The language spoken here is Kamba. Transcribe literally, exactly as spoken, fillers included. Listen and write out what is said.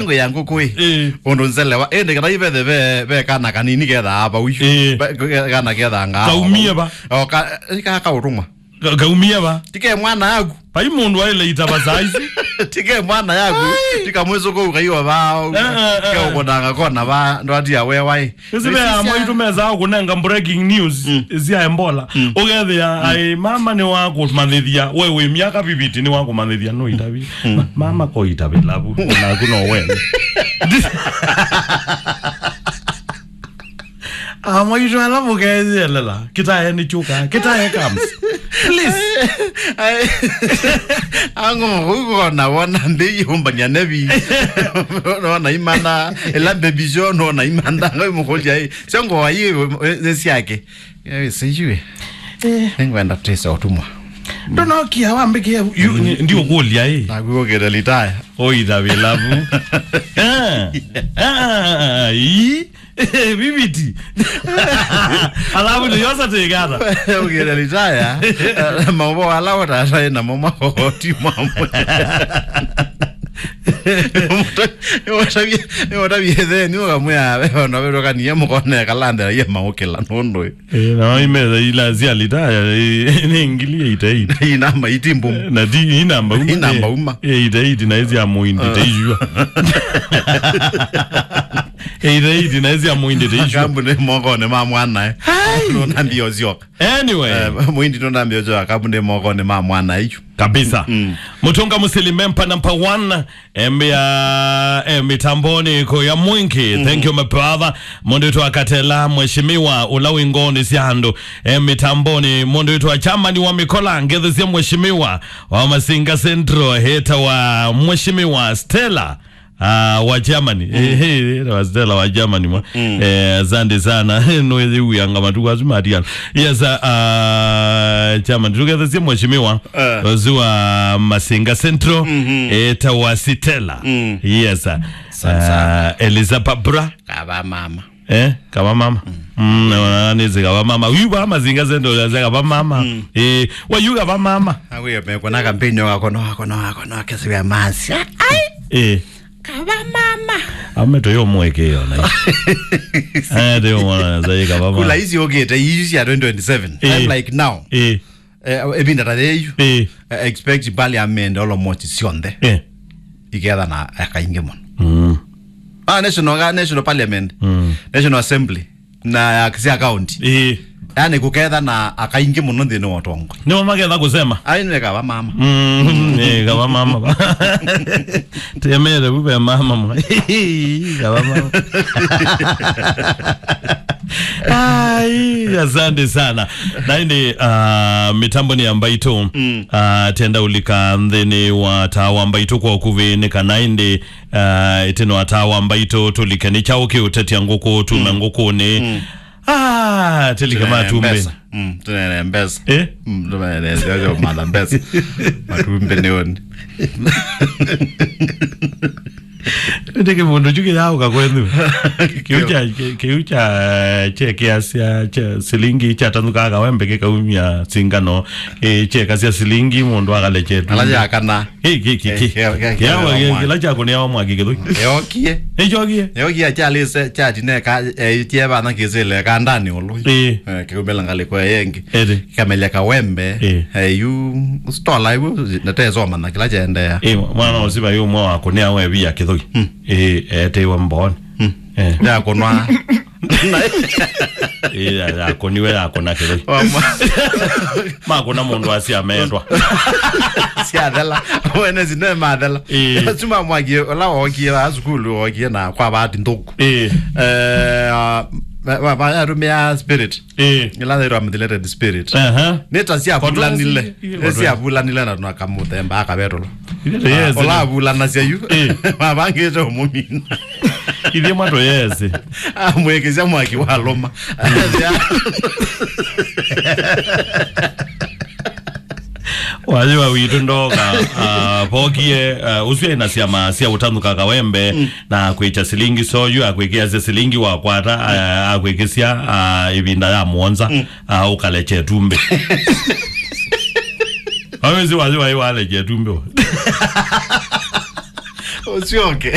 Ngũ ya ngũkũ ĩ. Ĩĩ. Ũndũ nzelewa. Ĩndĩ kana ivethe ve, ve kana kanini kethaa vau. Ĩĩ. Ve, ke-, kana kethaa ngaa. Kaumie va? O, ka, ka, kaũtũmwa. Ka-, kaumie va? Tike mwana yaku. Vai mũndũ aile itava saa isu. Tike mwana yaku. Ai. Tika mwĩsũkũ ũkaiwa vao. Eh, eh, eh. Ke ũkũnanga kona va, ndwatia wewa ĩ. Ĩsu ve amwe itũ mesaa kũnenga breaking news. Mm. Sya Ebola. Mm. Ũkethĩa, mm, ai, mama nĩ wa kũmanyĩthya, we wĩ myaka fifty nĩ wa kũmanyĩthya no itavi. Mm. Ma-, mama ko itavi lavu, naku no wene. Amwe itũ ala mũkeyelela, kĩtae nĩ kyũka, kĩtae comes. Please. Ai, ai, ang'o, ũkona wona mbei ũmbania nevi. Nona imana, ila baby show, nona imana, ngai mũkũlya, ai. Sio ngũa ii, nĩ syake. Eh, sijui. Eh. Nĩngwenda tũtĩse ũtũmwa. Ndonokia wambĩkĩa, yu, ndi ũkũlya, ĩ. Naku ũkĩte litaya. Oitha vilavu. Eh. Ah, ii. Viviti. Alafu nĩ yosa tĩgata. Ũkĩte litaya. Maũvoo ala ũtatae namo makoti mamwe. Nĩwatavie, nĩwatavie theni ũkamwĩa, "Ve ona vetũkanie mũkone kalandela ye maũkĩla nũndũ." Eh, na imeza ila sya litaya, eh, nĩ ngili eight eight. Inamba iti mbumu. Na ti inamba uma. Inamba uma. Eight eight na isi ya mũindi teishua. Eight eight na isi ya mũindi teishua. Kambuni mokone ma mwanae. Hai. Nona mbio zioka. Anyway. Eh, mũindi nona mbio zioka, kambuni mokone ma mwanae ichu. Kabisa. Mm. Mũtũnga mũsili mempa number one. Embia, eh, mitamboni ko ya mwingi. Mm. Thank you, my brother. Mũndũ witũ akatela, mheshimiwa, ũla wĩ ngoonĩ sya andũ. Eh, mitamboni, mũndũ witũ wa Germany wa mĩkola, ngethesie mheshimiwa wa Masinga Central, heta wa mheshimiwa Stella, ah, wa Germany. Mm. Eh, eh, heta wa Stella wa Germany, mwa. Mm. Eh, asante sana. Nũyĩw'ĩanga matukũ asu matiana. Yes, ah, ah, Germany. Tũgethesie mheshimiwa. Eh. Ũsu wa Masinga Central, mhm, etawa Stella. Mm. Yes, sir. Sana, sana. Ah, Eliza Barbara. Kava mama. Eh, kava mama. Mm. Mm, na, na, nĩsĩ kava mama. Uyu va Masinga Central, nĩsĩ kava mama. Mm. Eh, wa yu kava mama. Awe mekona kampeni wako no, wako no, wako no, kesi ya masi. Ai. Eh. Kava mama. Ame toyo mweke yona. Eh, toyo mwana, nĩsĩ kava mama. Kula hizi okete, hizi ya twenty twenty-seven. Eh. I'm like now. Eh. Eh, ĩvinda ta yĩu, eh, eh, expect parliament almost syonthe, eh, ikethana aka aingĩ mũno. Mm. Ah, national, national parliament, mm, national assembly, na ya, sya county. Eh. Yaani kũkethana aka aingĩ mũno nthĩnĩ wa ũtongoi. Nĩmo maketha kũsema. Ai, nĩ kava mama. Mm, eh, kava mama. Temere vu ve mama mwa. Kava mama. Ai, asante sana. Na ĩndĩ, ah, mĩtambo nĩ ya Mbaitũ. Mm. Ah, tenda ũlika nthĩnĩ wa taa wa Mbaitũ kwa ũkuvĩ nĩ kana ĩndĩ, ah, ĩtĩno wa taa wa Mbaitũ tũlike nĩ kyaũ kĩũtetia ngũkũ, tume, mm, ngũkũnĩ. Mm. Ah, tĩlike matumbĩ. Mbesa. Mm, tũneene mbesa. Eh? Mm, tũneene mbesa, matha mbesa. Matumbĩ nĩ ũni. Ĩndĩ kĩvũndũ kyu kĩyaũka kwenyu. Kĩu kya, kĩ-, kĩu kya, eh, kyekĩasya, kya silingi kyatanũkaa kawembe kĩkaumya singano, eh, kyekasya silingi mũndũ akalekye tu. Ala yakana. Kĩ, kĩ, kĩ, kĩ. Eh, kĩ, kĩ, kĩ, kĩawa, kĩ, kĩla kyakũnĩawa mwaki kĩthũi. Yokie. Nĩkyokie. Yokie kyalĩse, kyatineka, eh, kyevana kĩsĩle kandani ũlũi. Eh. Eh, kĩumĩla ngalĩko yengi. Ĩndĩ. Kĩkamelya kawembe. Eh. Eh, yu stola yu, natesoma na kĩla kyaendeea. Eh, mwana ũsiva yu ũmwe wakũnĩa wevia kĩthũi. Hmm. Eh, etewe mboni. Hmm. Eh. Yakũnwa. Eh, ya, yakũniwe, yakũna kĩthũi. Wamwa. Makũna mũndũ asia metwa. Syathela. Wene sine mathela. Eh. Suma mwakie, ũla wokie wa sukulu, wokie na kwa bahati nthũku. Eh. Eh, ah, ba, ba, ba, yatumia spirit. Eh. Ila yĩtwa methylated spirit. Aha. Nĩ ta syavulanile. Nĩ syavulanile na tũna kamũthemba akavetũla. Yes. Ũla avulanasya yu. Eh. Mavangĩte ũmũmina. Ithyĩ mwatũ yesi. Amwĩkĩsya mwaki wa lũma. Wayĩwa witũ ndoka, ah, vokie, ah, ũsu ena syama sya ũtanũka kawembe, mm, na kwĩkya silingi soyu, akwĩkĩasya silingi wakwata, ah, akwĩkĩsya, ah, ĩvinda ya mũonza, mm, ah, ũkalekya ĩtumbĩ. Wawĩsĩ wayĩwa ĩ walekya ĩtumbĩ. Ũsyoke.